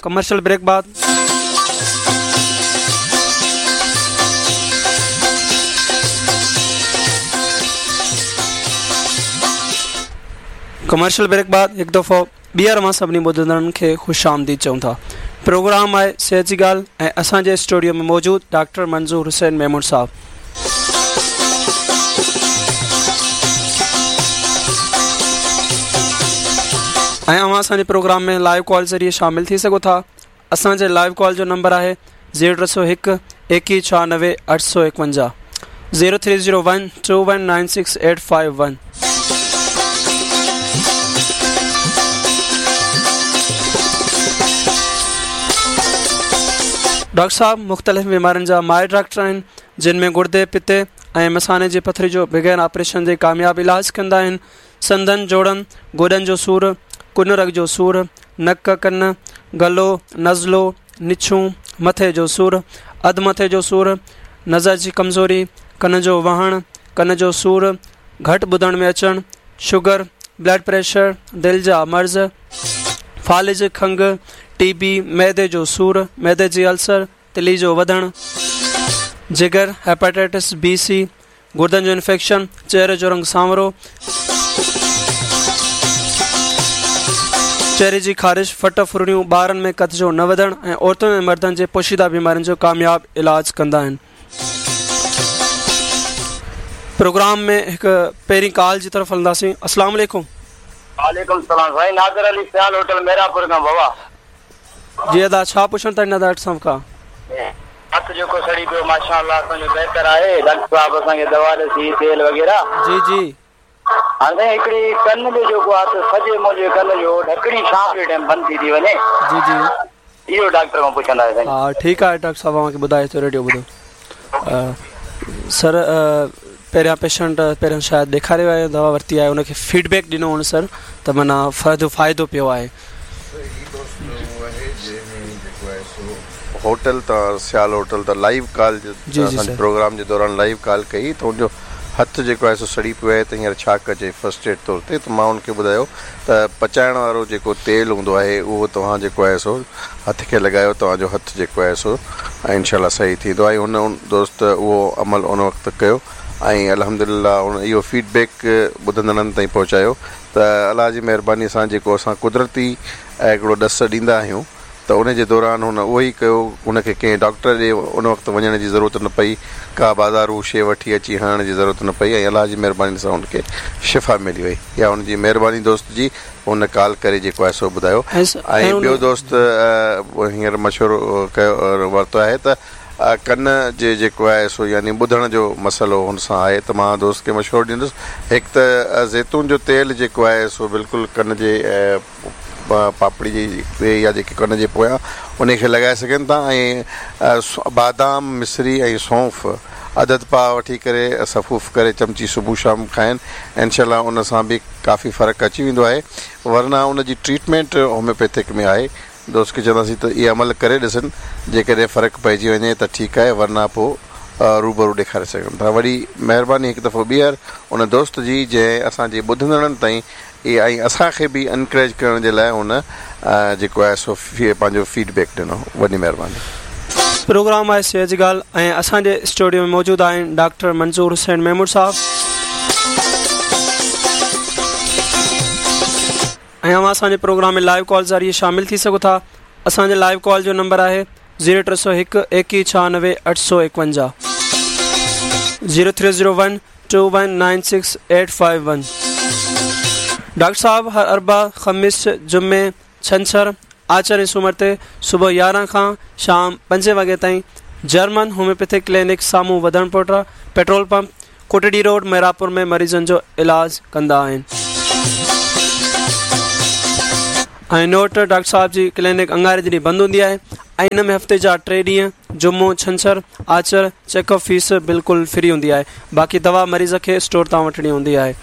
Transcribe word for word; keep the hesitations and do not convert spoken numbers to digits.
Commercial brake बाद। Commercial brake बाद हिकु दफ़ो ॿीहर मां सभिनी ॿुधंदड़नि खे ख़ुशि आमदीद चऊं था। प्रोग्राम आहे सिहत जी ॻाल्हि ऐं असांजे स्टूडियो में मौजूदु डॉक्टर मंज़ूर हुसैन मेमून साहब। ऐं अव्हां असांजे प्रोग्राम में लाइव कॉल ज़रिए शामिल थी सघो था। असांजे लाइव कॉल जो नंबर आहे ज़ीरो टे सौ हिकु एकवीह छहानवे अठ सौ एकवंजाह, zero three zero one two one nine six eight five one. Doctor साहब मुख़्तलिफ़ बीमारियुनि जा माहिर डॉक्टर आहिनि, जिन में गुर्दे, पित्ते ऐं मसाने जे पथरी जो बग़ैर ऑपरेशन जे कामयाबु इलाज कंदा आहिनि। संदन, जोड़नि, गोॾनि जो सूर, कुन रग जो सूर, नक, कन, गलो, नज़लो, निछूं, मथे जो सूर, अधु मथे जो सूर, नज़र जी कमज़ोरी, कन जो वहणु, कन जो सूर, घटि ॿुधण में अचणु, शुगर, ब्लड प्रेशर, दिलि जा मर्ज़, फ़ालिज, खंघ, टीबी, मैदे जो सूर, मैदे जी अल्सर, तिली जो वधणु, जिगर, हेपेटाइटिस बी सी, गुर्दनि जो इन्फेक्शन, चेहरे जो रंग सांवरो, चेहरे जी ख़ारिश, फट फुरणियूं, ॿारनि में कद जो न वधणु ऐं औरतुनि ऐं मर्दनि जे पोशीदा बीमारियुनि जो कामयाबु इलाज कंदा आहिनि। प्रोग्राम में हिकु पहिरीं कॉल जी तरफ़ हलंदासीं। अस्सलाम वालेकुम। वालेकुम सलाम साईं, नादिर अली सियाल होटल मेरापुर खां बाबा। जी अदा, छा पुछणु था हिन डॉक्टर साहब खां? हथ जेको सड़ी पियो माशाअल्लाह असांजो बहितर आहे। डॉक्टर साहब असांखे दवा ॾिसी, तेल वग़ैरह। जी जी। हाणे साईं हिकिड़ी कन जो जेको आहे त सॼे मुंहिंजे कन जो ढकणी शाम जे टाइम बंदि थी थी वञे। जी जी, इहो डॉक्टर खां पुछंदा आहियो साईं। हा ठीकु आहे डॉक्टर साहब, अव्हांखे ॿुधाए थो रेडियो ॿुधो। सर पहिरियां पेशेंट पहिरियां शायदि ॾेखारियो आहे, दवा वरिती आहे, हुनखे फीडबैक ॾिनो हुन सर त माना फ़ाइदो फ़ाइदो पियो आहे। होटल त सियाल होटल त लाइव कॉल प्रोग्राम जे दौरान लाइव कॉल कई त हुनजो हथु जेको आहे सो सड़ी पियो आहे त हींअर छा कजे फर्स्ट एड तौर ते। त मां हुनखे ॿुधायो त पचाइण वारो जेको तेल हूंदो आहे उहो तव्हां जेको आहे सो हथ खे लॻायो, तव्हांजो हथु जेको आहे सो ऐं इनशा सही थींदो। ऐं हुन दोस्त उहो अमल उन वक़्तु कयो ऐं अल्हम्दुलिल्लाह हुन इहो फीडबैक ॿुधंदड़नि ताईं पहुचायो त अलाह जी महिरबानी सां जेको असां कुदरती हिकिड़ो ॾस ॾींदा आहियूं त उन जे दौरान हुन उहो ई कयो। हुनखे कंहिं डॉक्टर ॾे उन वक़्तु वञण जी ज़रूरत न पई, का बाज़ारू शइ वठी अची हणण जी ज़रूरत न पई ऐं अलाह जी महिरबानी सां हुनखे शिफ़ा मिली वई। या हुनजी महिरबानी दोस्त जी हुन कॉल करे जेको आहे सो ॿुधायो। ऐं ॿियो दोस्त हींअर मशवरो कयो वरितो आहे त कन जे जेको आहे सो यानी ॿुधण जो मसइलो हुन सां आहे त मां दोस्त खे मशवरो ॾींदुसि, हिकु त ज़ैतून जो तेल जेको आहे सो बिल्कुलु कन जे पापड़ी जे या जेके कन जे पोयां उनखे लॻाए सघनि था ऐं बादाम, मिश्री ऐं सौंफ़ अदद पाउ वठी करे सफ़ूफ़ करे चमची सुबुह शाम खाइनि, इनशा उन सां बि काफ़ी फ़र्क़ु अची वेंदो आहे। वरना उन जी ट्रीटमेंट होम्योपैथिक में आहे। दोस्त खे चवंदासीं त इहो अमल करे ॾिसनि, जेकॾहिं फ़र्क़ु पइजी वञे त ठीकु आहे, वरना पोइ रूबरू ॾेखारे सघनि था। वॾी महिरबानी हिकु दफ़ो ॿीहर उन दोस्त जी जंहिं असांजे ॿुधंदड़नि ताईं इहा ऐं असांखे बि एनकरेज करण जे लाइ हुन जेको आहे सो पंहिंजो फीडबैक ॾिनो। वॾी महिरबानी। प्रोग्राम आहे सिहत जी ॻाल्हि ऐं असांजे स्टूडियो में मौजूदु आहिनि डॉक्टर मंज़ूर हुसैन मेमून साहब ऐं अव्हां असांजे प्रोग्राम में लाइव कॉल ज़रिए शामिल थी सघो था। असांजे लाइव कॉल जो नंबर आहे ज़ीरो टे सौ हिकु एकवीह छहानवे अठ सौ एकवंजाह, zero three zero one two one nine six eight five one. Doctor साहब हर अरबा, ख़मीस, जुमे, छंछर, आचर ऐं सूमर ते सुबुह यारहं खां शाम पंजे वॻे ताईं जर्मन होम्योपैथिक क्लिनिक साम्हूं वधण पोटा petrol pump Kotri road Merapur में मरीज़नि जो इलाज कंदा आहिनि। ऐं नोट, डॉक्टर साहब जी क्लिनिक अंगारे जे ॾींहुं बंदि हूंदी आहे ऐं इन में हफ़्ते जा टे ॾींहुं जुमो, छंछर, आचर चेकअप फीस बिल्कुलु फ्री हूंदी आहे। बाक़ी दवा मरीज़ खे स्टोर तां वठणी हूंदी आहे।